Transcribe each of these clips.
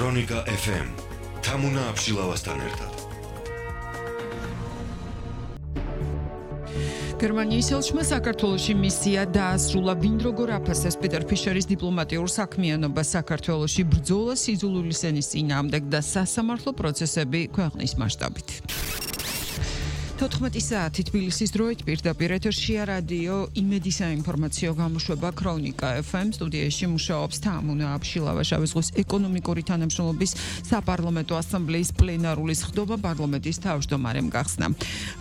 ქრონიკა FM თამუნა აბშილავასთან ერთად. გერმანიის ელჩმა საქართველოში მისია დაასრულა, ვინ როგორ აფასებს პიტერ ფიშერის დიპლომატიურ საქმიანობას საქართველოში, ბრძოლა სიძულვილის ენის წინააღმდეგ და სასამართლო პროცესები ქვეყნის მასშტაბით. 14 საათი თბილისის დროით პირდაპირ ეთერშია რადიო იმედი საინფორმაციო გამოშვება ქრონიკა FM. სტუდიაში მუშაობს თამუნა აბშილავა. შავი ზღვის ეკონომიკური თანამშრომლობის საპარლამენტო ასამბლეის პლენარული სხდომა პარლამენტის თავმჯდომარემ გახსნა.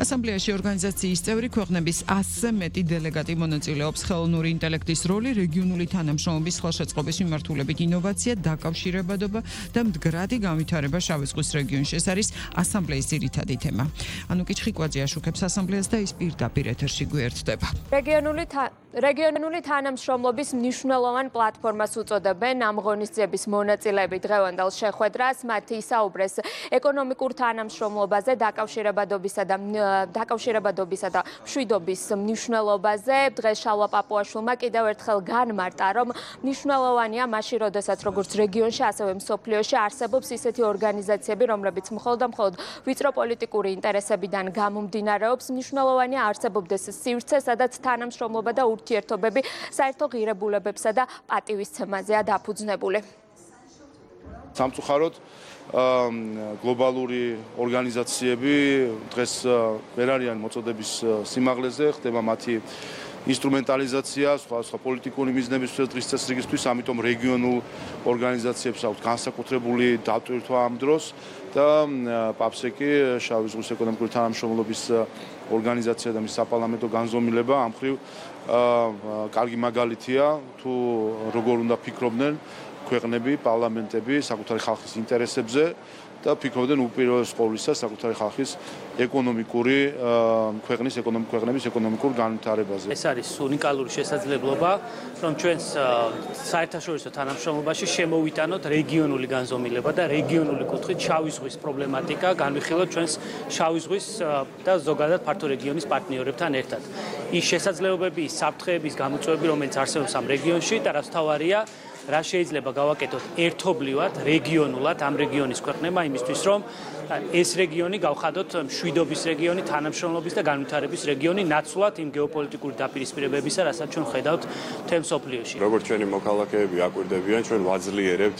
ასამბლეაში ორგანიზაციის წევრი ქვეყნების 100-ზე მეტი დელეგატი მონაწილეობს. ხელოვნური ინტელექტის როლი, რეგიონული თანამშრომლობის ხელშეწყობის მიმართულებით ინოვაცია, დაკავშირებადობა და მდგრადი განვითარება შავი ზღვის რეგიონში. ეს არის ასამბლეის ძირითადი თემა. ანუკი ჩხიკვაძე აშუქებს ასამბლეას და ის პირდაპირ ეთერში გვერდდება. რეგიონული თანამშრომლობის მნიშვნელოვან პლატფორმას უწოდებენ ამ ღონისძიების მონაწილეები დღევანდელ შეხვედრას. მათ ისაუბრეს ეკონომიკურ თანამშრომლობაზე, დაკავშირებადობისა და მშვიდობის მნიშვნელობაზე. დღეს შალვა პაპუაშვილმა კიდევ ერთხელ განმარტა, რომ მნიშვნელოვანია მაშინ, როდესაც როგორც რეგიონში, ასევე მსოფლიოში არსებობს ისეთი ორგანიზაციები, რომლებიც მხოლოდ ვიწრო პოლიტიკური ინტერესებიდან გამომდინარეობს. მნიშვნელოვანია არსებობდეს სივრცე, სადაც თანამშრომლობა და ურთიერთობები საერთო ღირებულებებსა და პატივისცემაზეა დაფუძნებული. სამწუხაროდ გლობალური ორგანიზაციები დღეს ვერ არიან მოწოდების სიმაღლეზე, ხდება მათი ინსტრუმენტალიზაცია სხვა პოლიტიკური მიზნებისთვის დღის წესრიგისთვის, ამიტომ რეგიონულ ორგანიზაციებს აქვთ განსაკუთრებული დატვირთვა ამ დროს და პაპსეკი შავი ზღვის ეკონომიკური თანამშრომლობის ორგანიზაცია და მის საპარლამენტო განზომილება ამ მხრივ კარგი მაგალითია თუ როგორ უნდა ფიქრობდნენ ქვეყნები, პარლამენტები საკუთარი ხალხის ინტერესებზე და ფიქრობდნენ უპირველეს ყოვლისა საკუთარი ხალხის ქვეყნების ეკონომიკურ განვითარებაზე. ეს არის უნიკალური შესაძლებლობა, რომ ჩვენს საერთაშორისო თანამშრომლობაში შემოვიტანოთ რეგიონული განზომილება და რეგიონული კუთხით შავი ზღვის პრობლემატიკა განვიხილოთ ჩვენს შავი ზღვის და ზოგადად ფართო რეგიონის პარტნიორებთან ერთად. ის შესაძლებლობები, ის საფრთხეების გამოწვევები, რომელიც არსებობს ამ რეგიონში და რაც თავარია, რა შეიძლება გავაკეთოთ ერთობლივად, რეგიონულად ამ რეგიონის ქვეყნებმა იმისთვის, რომ ეს რეგიონი გავხადოთ მშვიდობის რეგიონი, თანამშრომლობის და განვითარების რეგიონი, ნაცვლად იმ გეოპოლიტიკური დაპირისპირებებისა, რასაც ჩვენ ხედავთ მთელ მსოფლიოში. როგორც ჩვენი მოქალაქეები აკვირდებიან, ჩვენ ვაძლიერებთ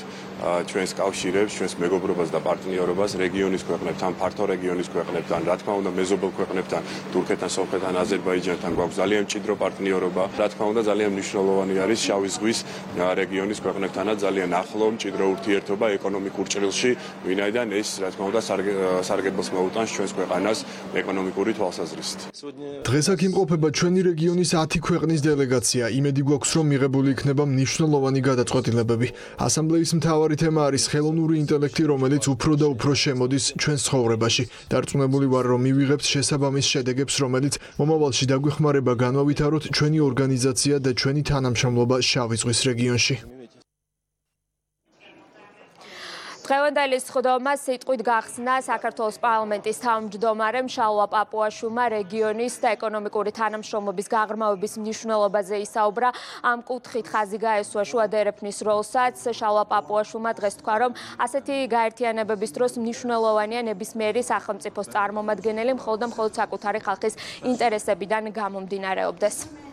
ჩვენს კავშირებს, ჩვენს მეგობრობას და პარტნიორობას რეგიონის ქვეყნებთან, ფართო რეგიონის ქვეყნებთან, რა თქმა უნდა, მეზობელ ქვეყნებთან, თურქეთთან, სომხეთთან, აზერბაიჯანთან გვაქვს ძალიან მჭიდრო პარტნიორობა. რა თქმა უნდა, ძალიან მნიშვნელოვანი არის შავი ზღვის რეგიონის ქვეყნებთანაც ძალიან ახლო მჭიდრო ურთიერთობა ეკონომიკურ ჭრილში, ვინაიდან ეს რა თქმა უნდა სარგებლოს მოუტანს ჩვენს ქვეყანას ეკონომიკური თვალსაზრისით. დღეს აქ იმყოფება ჩვენი რეგიონის 10 ქვეყნის დელეგაცია. იმედი გვაქვს, რომ მიღებული იქნება მნიშვნელოვანი გადაწყვეტილებები. ასამბლეის მთავარი თემა არის ხელოვნური ინტელექტი, რომელიც უფრო და უფრო შემოდის ჩვენს ცხოვრებაში. დარწმუნებული ვარ, რომ მივიღებთ შესაბამის შედეგებს, რომელიც მომავალში დაგვეხმარება განვავითაროთ ჩვენი ორგანიზაცია და ჩვენი თანამშრომლობა შავი ზღვის რეგიონში. დღევანდელი სხდომა სიტყვით გახსნა საქართველოს პარლამენტის თავმჯდომარემ შალვა პაპუაშვილმა რეგიონის და ეკონომიკური თანამშრომლობის გაღრმავების მნიშვნელობაზე ისაუბრა. ამ კუთხით ხაზი გაესვა შუა და ერეფნის როლსაც. შალვა პაპუაშვილმა დღეს თქვა, რომ ასეთი გაერთიანებების დროს მნიშვნელოვანია ნებისმიერი სახელმწიფოს წარმომადგენელი მხოლოდ საკუთარი ხალხის ინტერესებიდან გამომდინარეობდეს.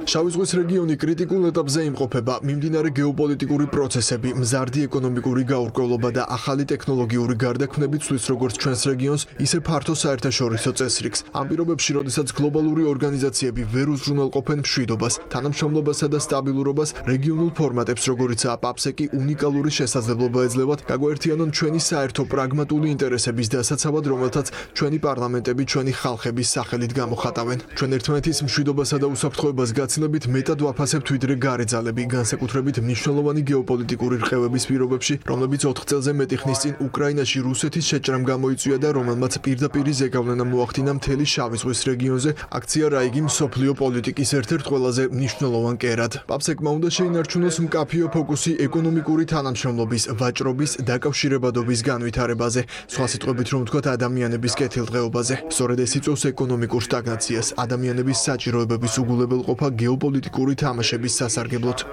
შავი ზღვის რეგიონი კრიტიკულ ეტაპზე იმყოფება. მიმდინარე გეოპოლიტიკური პროცესები, მზარდი ეკონომიკური გაურკვევლობა და ახალი ტექნოლოგიური გარდაქმნები ცვლის როგორც ჩვენს რეგიონს, ისე ფართო საერთაშორისო წესრიგს. ამ პირობებში, როდესაც გლობალური ორგანიზაციები ვერ უზრუნველყოფენ მშვიდობას, თანამშრომლობასა და სტაბილურობას, რეგიონულ ფორმატებს, როგორიცაა პაპსეკი, უნიკალური შესაძლებლობა ეძლევათ გაგვაერთიანონ ჩვენი საერთო პრაგმატული ინტერესების დასაცავად, რომელთაც ჩვენი პარლამენტები ჩვენი ხალხების სახელით გამოხატავენ. ჩვენ ერთმანეთის მშვიდობასა და უსაფრთხოებას გაცილებით მეტად ვაფასებთ ვიდრე გარეძალები, განსაკუთრებით მნიშვნელოვანი გეოპოლიტიკური რყევების პირობებში, რომლებიც 4 წელზე მეტი ხნის წინ უკრაინაში რუსეთის შეჭრამ გამოიწვია და რომელმაც პირდაპირი ზეგავლენა მოახდინა მთელი შავი ზღვის რეგიონზე, აქცია რა იგი მსოფლიო პოლიტიკის ერთ-ერთ ყველაზე მნიშვნელოვან კერად. პაპსეკმა უნდა შეინარჩუნოს მკაფიო ფოკუსი ეკონომიკური თანამშრომლობის, ვაჭრობის, დაკავშირებადობის განვითარებაზე, სხვა სიტყვებით რომ ვთქვათ ადამიანების კეთილდღეობაზე. სწორედ ეს იწვევს ეკონომიკურ სტაგნაციას, ადამიანების საჭიროებების უგულებელყოფა გეოპოლიტიკური თამაშების სასარგებლოდ.